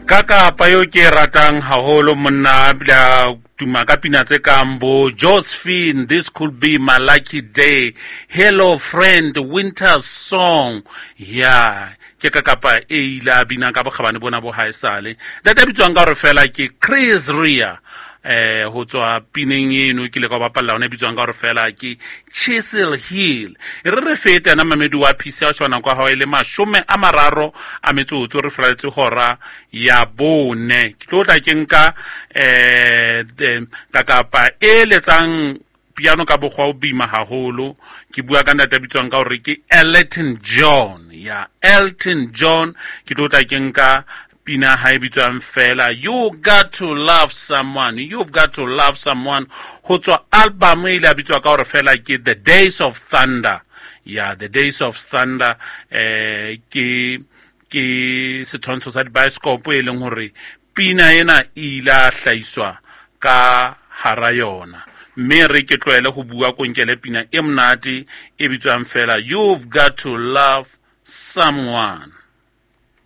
Ka kapa eo ke e ratang haholo monna a bile a tuma ka pina tse kang bo Josephine, This Could Be My Lucky Day, Hello Friend, Winter Song. Ya ke ka kapa e ile a bina ka bokgabane bona bo haesale. Ntate a bitswang ka hore fela ke Chris Rea, ho tswa pineng eno ke le ka bapalla ona e bitswang ka hore fela ke Chisel Hill. E re re fete ana mamedi wa PC a shwana kwa hao e le 30 a metsotso re furaletse hora ya bone. Ke tlo tla ke nka ka kapa e letsang piano ka bokgwa o boima haholo. Ke bua ka ntate a bitswang ka hore ke Elton John. Ya Elton John ke tlo tla ke nka pina ha e bitswang fela You Got to Love Someone, You've Got to Love Someone, ho tswa album e ile a bitswa ka hore fela ke The Days of Thunder. Ya The Days of Thunder, ke setshwantsho sa dibaesekopo e leng hore pina ena e ile a hlahiswa ka hara yona. Mme re ke tlohele ho bua konkele pina e monate e bitswang fela You've Got to Love Someone.